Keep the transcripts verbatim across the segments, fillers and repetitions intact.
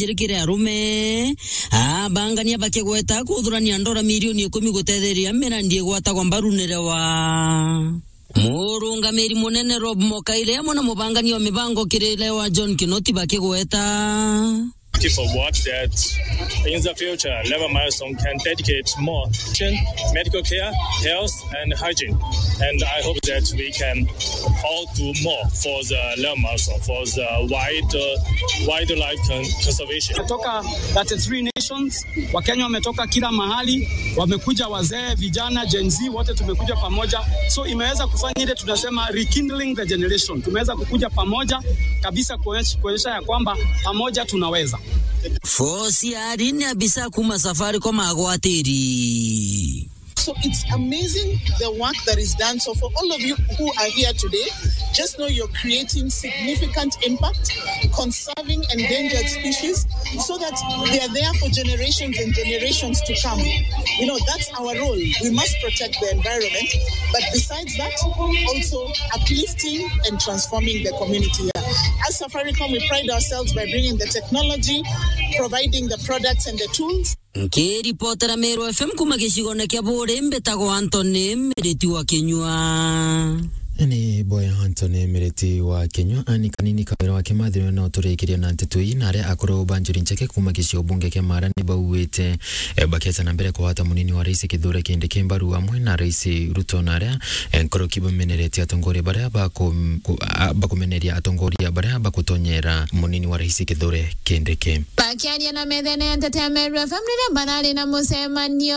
njiri kiri arume. Abangania bakigweta kuthurania ndora milioni ikumi gutetheria mirandi igwatagwa mbaru ni Lewa. Murungamiri munene Rob Mokaire amwe na mubangania wa mibango kiri Lewa John Kinoti bakigweta. Looking forward that in the future, Lewa Milestone can dedicate more attention, medical care, health, and hygiene. And I hope that we can all do more for the Lewa Milestone, for the wild, uh, wildlife con-, conservation. Kutoka thirty-three nations, Wakenya wametoka kila mahali, wamekuja wazee, vijana, Gen Z, wote tumekuja pamoja. So imeweza kufanya ile tunasema rekindling the generation. Tumeweza kukuja pamoja kabisa kuonyesha, kuonyesha ya kwamba pamoja tunaweza. Fosi ari ni abisa kuma Safaricom agwatiri. So it's amazing the work that is done. So for all of you who are here today, just know you're creating significant impact, conserving endangered species, so that they are there for generations and generations to come. You know, that's our role. We must protect the environment, but besides that, also uplifting and transforming the community here. As Safaricom, we pride ourselves by bringing the technology, providing the products and the tools. Nkiripotera Meru F M kuma gicigone kia Buuri, mbitagwa Anthony Miriti wa Kinyua. Ni boya Anthony Miriti wa Kinyua, ani kanini kawira wa Kimathi niwe no turikiria na nteto ii, na aria akuru ba Njuri Ncheke kuma gicigo bunge kia Maara ni bauite, eh, baketa na mbere kugwata munini wa rais Kithure Kindiki mbaru amwe na rais Ruto, na aria, eh, nkoroki bameneretie atongoria baria baku-, ku-, a-, bakumeneria atongoria baria bakutonyera munini wa rais Kithure Kindiki. Bakiaria na methene ya nteto ya Meru F M riria barari na mucemanio,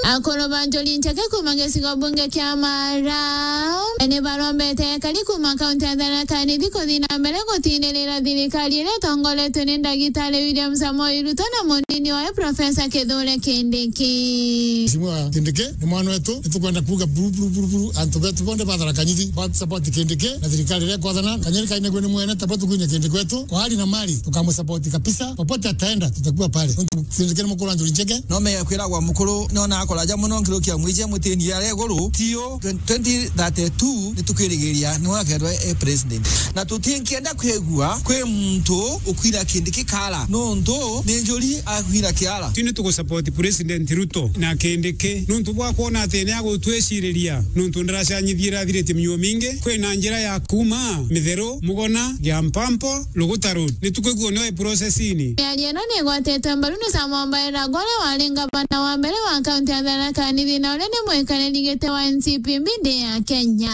akuru ba Njuri Ncheke kuma gicigo bunge kia Maara ni barombete ekari kuma kaunti ya Tharaka Nithi kuthi na mbere gutinirira thirikari iria itongoretwe ni Ndagitari William Samoei Ruto na munini wawe Professor Kithure Kindiki. Mheshimiwa Kindiki ni mwana wetu, ni tukwenda kuuga buru, buru, buru, buru, antu betu bonthe ba Tharaka Nithi ba support Kindiki na thirikari iria ikwathana. Kanyeri kainegwe ni mwene, tabo tukwinya Kindiki wetu kwa hali na mali, tukamu support kabisa. Popote ataenda, tutakuwa pale. Nontu Kindiki ni mukuru wa Njuri Ncheke. No mega kwiragwa mukuru, nona akuraja muno nkirukia mwije mutini ya reguru, tio twenty thirty-two ni tukwirigiria ni wakethwa e president. Na tutinkienda kwigua kwi muntu ukwira Kindiki kara, nontu ni Njuri akwira kiara. Tini tugusupport President Ruto na Kindiki, nontu bwa kwona ati ni agutwiciriria, nontu ndaracanyithia irathirite miuo mingi. Kwina njira ya kuma Mitheru, Mugona, Giampampo, Luguta Road. Ni tukwigua nio e process-ini. Miario ino ni igwatetwe mbaru ni Samuel Mbairagwa, uria wari ngavana wa mbere wa kaunti ya Tharaka Nithi, na uria ni mwikariri giti wa N C P mbindi ya Kenya.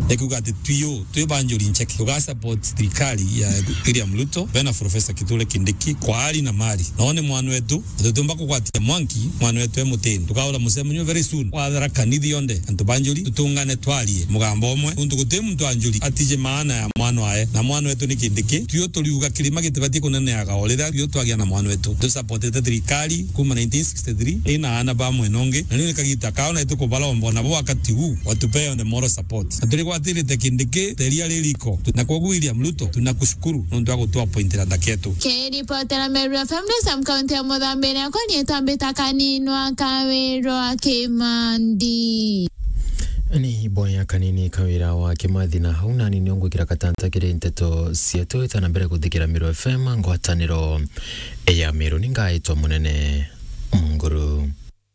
Ni kuuga ati twio twi ba Njuri Ncheke, tuga support thirikari ya William Ruto, bena Professor Kithure Kindiki, kwa hali na mali. Nao ni mwana wetu, na tutiumba kugwatia mwanki mwana wetu e mutini. Tukaura mucemanio very soon wa Tharaka Nithi yonthe, antu ba Njuri, tutungane twarie mugambo umwe, nontu guti muntu wa Njuri atiji maana ya mwana wae, na mwana wetu ni Kindiki. Twio turiuga kirima gitibatie kuneneaga o riria twio twagia na mwana wetu. Tusupportete thirikari kuma nineteen sixty-three, ina aana ba mwena ungi, na riu ni kagita kao na itukubaromba nabo wakati huu, watupee on the moral support. Na turigwatirite Kindiki ta iria ririko. Na kwoguo William Ruto, tunakushukuru nontu wa gutuappointira ndaketu. Kiripotera Meru F M ni Sam kaunti ya Muthambi, iria kwa ni itambita Kaninwa Kawirwa Kimandi. Ni boya Kanini Kawira wa Kimathi, na hau nani nio ngwikira katanta kiri nteto cietu. Ita na mbere kuthikira Meru F M, ngwataniro ya Meru, ni ngaitwa Munene Munguru.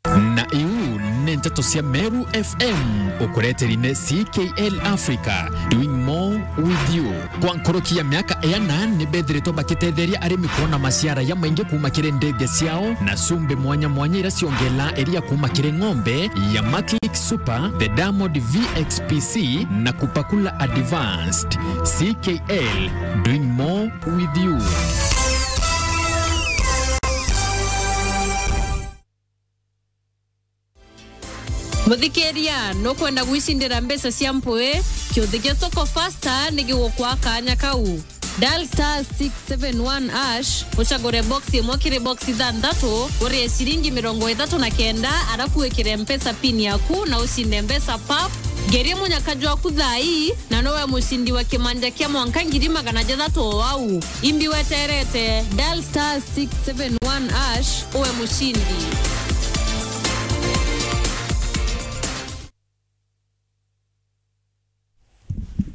Na iu ni nteto cia Meru F M, ukureteri ni C K L Africa, doing more with you. Kwa nkoroki ya miaka iana, ni bethiritwe bakitetheria arimi kwona maciara ya maingi kuma kiri ndege ciao na cumbi mwanya mwanya iria ciongela iria kuma kiri ng'ombe ya Maclick Super, the Diamond V X P C na Kupakula Advanced. C K L, doing more with you. Muthikiria, nukwenda gwicindira mbeca cia mpui? Kiuthi gia Soko Fasta ni gigukwa kanya kau. Dial star six seven one hash, ucagure box imwe kiri box ithanthatu, urie ciringi mirongo ithatu na kenda, arafu wikire Mpesa pin yaku na ucinde mbeca pap. Ngeria munyaka jwaku thaa ii, na nowe mucindi wa kimanja kia mwanka ngiri magana jathatu o au. Imbi weterete, dial star six seven one hash, uwe mucindi.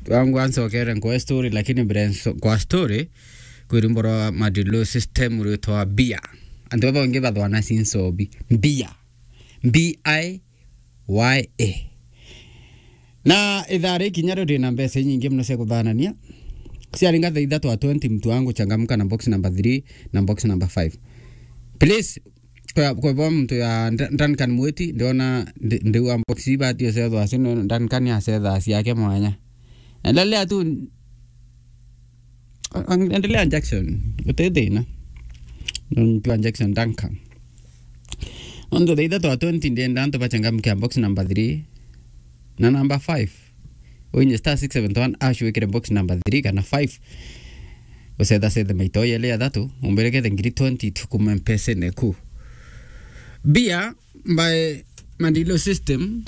Wangu ansokere nkwe story, lakini mbere nso-, kwa story, kwi rwimbo rwa Madilu System rwitwa Bia. Antu baba bangi bathwana sinsobi. Bia. B I Y A. Na ithaa ri kinya rio rina mbeca inyingi muno cia kuthanania. Ciaringa thaa ithatu a twenty, mtu wangu changamka na box number three na box number five. Please, kwa, kwa bo mtu ya Nda-, Duncan Mwiti, ndiona ndi-, ndiwa box iba tio cethwa acio, Duncan acetha ciake mwanya. Endelea tu, endelea Jackson, uti thina. Nontu wa Jackson Duncan. Nontu thaa ithatu a twenty ndienda antu bachangamke box number three na number five. Uinye star six seven one hash wikire box number three kana five. Ucetha cethe maito yele ya thatu, umberekete ngiri twenty tukume mpesene ku. Bia by Mandilo System.